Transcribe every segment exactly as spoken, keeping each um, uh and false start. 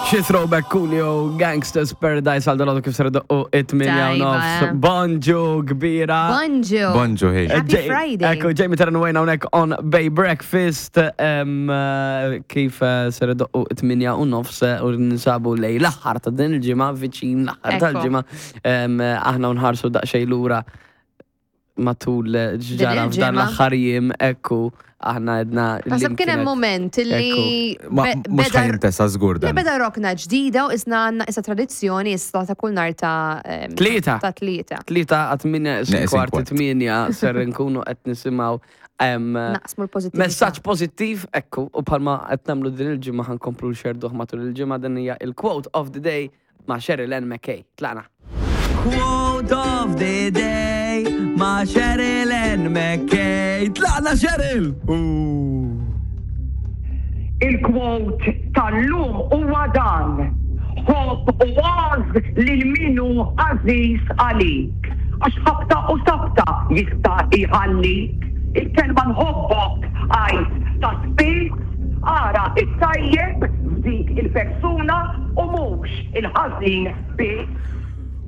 Xi throwback Coolio, Gangsta's Paradise għal dalgħodu kif ser u it-tmienja u Tajba, nofs. eh. Bonġu kbira. Bonġu. Bonġu, hey. Happy Ġej- Friday. Ekku, Jamie Terran Wayne hawnhekk on Bay Breakfast, em, eh, kif eh, ser u it-tmienja u nofs eh, u ninsabu lejn l-aħħar ta' din il-ġimgħa, viċin l-aħħar Ekku. tal-ġimgħa. Em, eh, Aħna nħarsu daqsxejn lura matul eh, ġara f'dan il-ġimgħa. l-aħħar jiem, ekku, aħna għedna. Naħseb kien hemm moment li Ma be- mhux beda- ħa jintesa żgur li dan. beda rokna ġdida u isna għandna issa tradizzjoni issa ta' kull nhar ta' em, Tlieta. Ta' tlieta. Tlieta għat-tmienja Neqsin kwart kwart. tmienja ser nkunu qed nisimgħu em, Naqsmu l-pożittività. Messaġġ pożittiv, ekku, u bħalma qed nagħmlu din il-ġimgħa, ħa nkomplu nxerduh matul il-ġimgħa. Din hija il-quote of the day ma' Cheryl Ann McKay. Tlaqna. Quote of the day ma' Cheryl Ann McKay. Tlaqna, Cheryl! Il-quote tal-lum huwa dan: "Ħobb u għożż lil min hu għażiż għalik. Għax ħabta u sabta jista' jħallik. Il-kelma nħobbok għid ta' spiss, ara it-tajjeb f'dik il-persuna u mhux il-ħażin biss."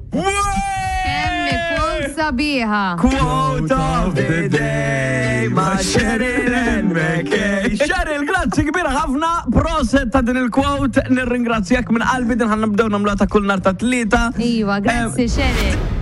Kemm ikun sabiħa. Quote of the day ma' Cheryl Ann McKay. Cheryl, grazzi kbira ħafna. Proset ta' din il-quote. Nirringrazzjak minn qalbi, din ħa nibdew nagħmluha ta' kull nhar ta' Tlieta. Iva, grazzi, Cheryl.